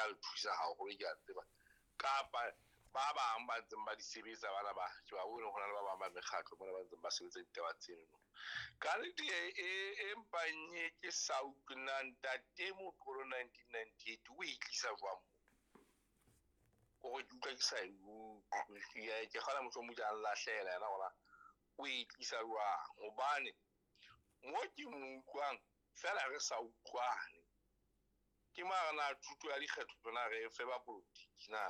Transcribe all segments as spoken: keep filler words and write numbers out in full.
tla le thusa haholo, ke a tseba. Kapa ba bang ba ntseng ba di sebetsa bana ba, ke ba bone ho na le ba bang ba mekgatlo mona ba ntseng ba sebetsa ditaba tseno. Ka nnete e, e, e mpang e ke sa utlwe na ntate Moqolo nineteen ninety-eight o e tlisa jwang mo? Kore ke utlwa ke sa e utlwe. Ke, ke kgona mohlomong ke a nlahlela yena hore o e tlisa jwang. Hobane mo ke mo utlwang feela re sa utlwane. Ke mara na thuto ya dikgetho na re fe ba politiki na?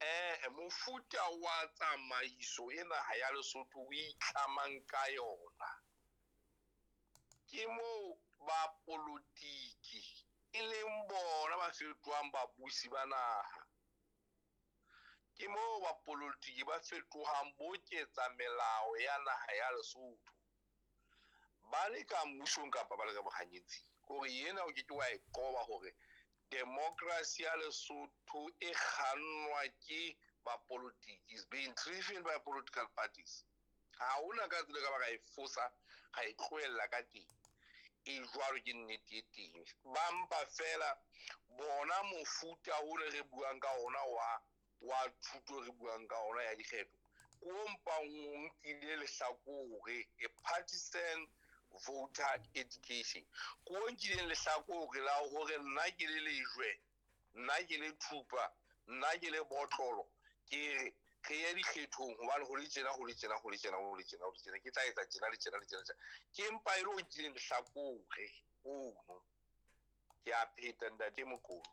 Eh, mofuta wa tsamaiso e naha ya Lesotho o itlamang ka yona. Ke moo ba politiki e leng bona ba fetohang babusi ba naha. Ke moo ba politiki ba fetohang boketsa melao ya naha ya Lesotho. Ba le ka mmusong kapa ba le ka bohanyetsing. Hore ena o ke ke wa e qoba hore democracy ya Lesotho e kgannwa ke bapolitiki, is being driven by political parties. Ha hona ka tsela ka ba ka e fosa, ra e tlohella ka teng. E jwalo ke nnete e teng. Ba mpa fela bona mofuta o re re buang ka ona wa, wa thuto re buang ka ona ya dikgetho. Ko mpang o nkile lehlakore, a partisan voter education. Ko nkileng lehlakore la hore nna ke le lejwe, nna ke le thupa, nna ke le botlolo, ke re re ye dikgethong hobane ho le tjena, ho le tjena, ho le tjena, ho le tjena, ho le tjena, ke tla etsa tjena le tjena le tjena, tjena. Ke mpa e le o nkileng lehlakore ono. Ke a pheta ntate Mokoto.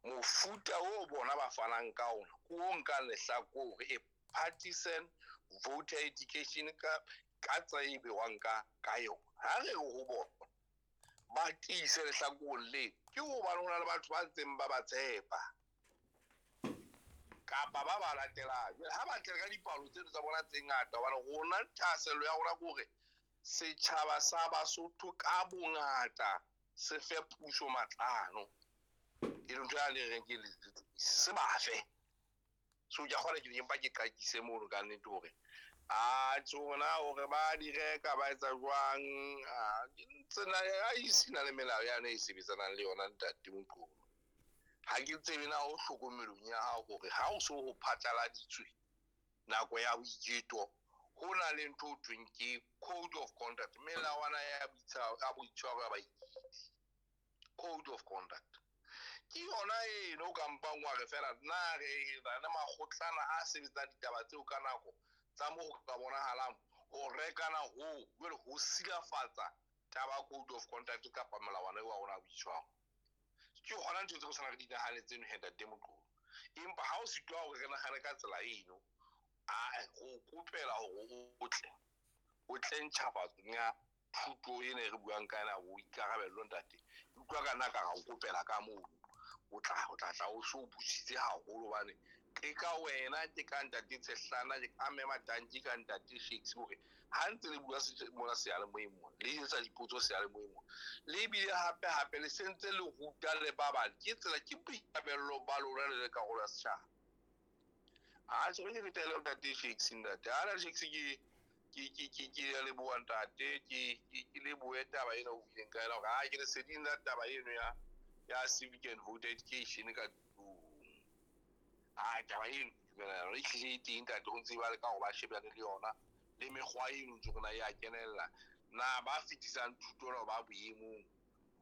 Mofuta o bona ba fanang ka ona, ke o nkang lehlakore, a partisan voter education ka, ka tsela e bewang ka, ka yona. Ha re re ho bona, ba tiise lehlakoreng le, ke hobane ho na le batho ba ntseng ba ba tshepa. Kapa ba ba latelang. Jwale ha ba tle ka dipalo tseno tsa bona tse ngata, hobane rona thahasello ya rona ke hore setjhaba sa Basotho ka bongata se fe puso matlano. E leng ntho ya le reng ke se ba fe. So ke a kgona ke empa ke qakise mono ka nnete hore a tsona hore ba di reka ba etsa jwang, a tsena a isina le melao yane e sebetsanang le yona ntate Moqolo. Ha ke tsebe na o hlokomelong ya hao hore ha o so ho phatlaladitswe nako ya boiketo, ho na le ntho ho thweng ke code of conduct, melawana ya boitshwaro, ya boitshwaro ya baiketi. Code of conduct. Ke yona eno o ka mpang wa re fela na re na le makgotlana a sebetsang ditaba tseo ka nako tsa moo ho ka bonahalang ho rekana ho, jwale ho silafatsa taba ya code of conduct kapa melawana eo wa rona ya boitshwaro. Ke hona ntho tseo re tshwanang re di nahane tseno he ntate Moqolo. Empa ha o sitwa hore re nahane ka tsela eno, a go kopela hore o tle, o tle ntjhafatsong ya thuto ena e re buang ka yona, boikarabello ntate. Ke utlwa ka nna ka ra o kopela ka mono. O tla, o tla tla o so busitse haholo hobane ke ka wena, ke ka ntate Tshehlana, ke ka Mme Matanki, ka ntate Shakes hore ha ntse le bua se-, mona seyalemoyeng mona, le etsa dipotso seyalemoyeng mona, le ebile hape hape le sentse le ruta le ba bang. Ke tsela, ke boikarabello ba lona le le karolo ya setjhaba. A tjhe, ke fetele ho ntate Shakes ntate. Ha ntate Shakes ke, ke, ke, ke, ke a leboha ntate, ke, ke, ke lebohe taba ena o buileng ka yona hore ha ke leseding la taba eno ya, ya civic and voter education ka tlung. Ha taba eno ke dumela yona, e hlile e teng ntate, ho ntse ba leka hore ba shebane le yona, le mekgwa eno ntse rona ya kenella. Na ba fetisang thuto na ba boemong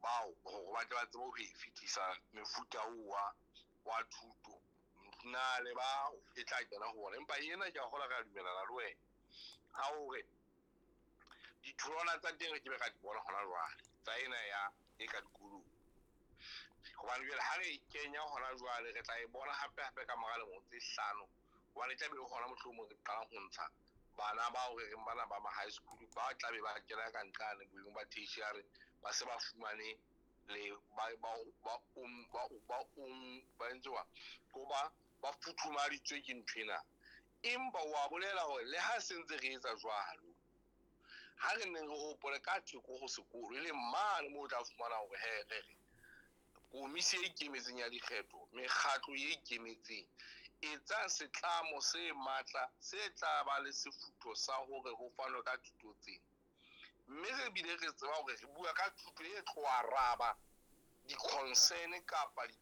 bao hore ba tle ba tsebe ho e fetisa mefuta oo wa, wa thuto. Na le ba e tla kena ho bona. Empa ena ke a kgolwa re a dumellana le wena. Ha hore ditholwana tsa teng re ke be ra di bona hona jwale, tsa ena ya e ka dikolong. Hobane jwale ha re e kenya hona jwale, re tla e bona hape hape ka mora lemo tse hlano. Hobane e tla be hona mohlomong re qalang ho ntsha bana bao re reng bana ba ma high school, ba tla be ba kena ka nqane boemong ba tertiary, ba se ba fumane le ba, ba, ba, um, ba, ba, um, ba entse jwang? Ko ba, ba futhumaditswe ke nthwena. Empa wa bolela hore le ha se ntse re etsa jwalo, ha re neng re hopole ka theko ho sekolo, e leng mane moo o tla fumana hore he, re re komisi e ikemetseng ya dikgetho, mekgatlo e ikemetseng, etsa setlamo se matla se tla ba le sefutho sa hore ho fanwe ka thuto tsena. Mme re bile re tseba hore re bua ka thuto e tlo araba di-concern kapa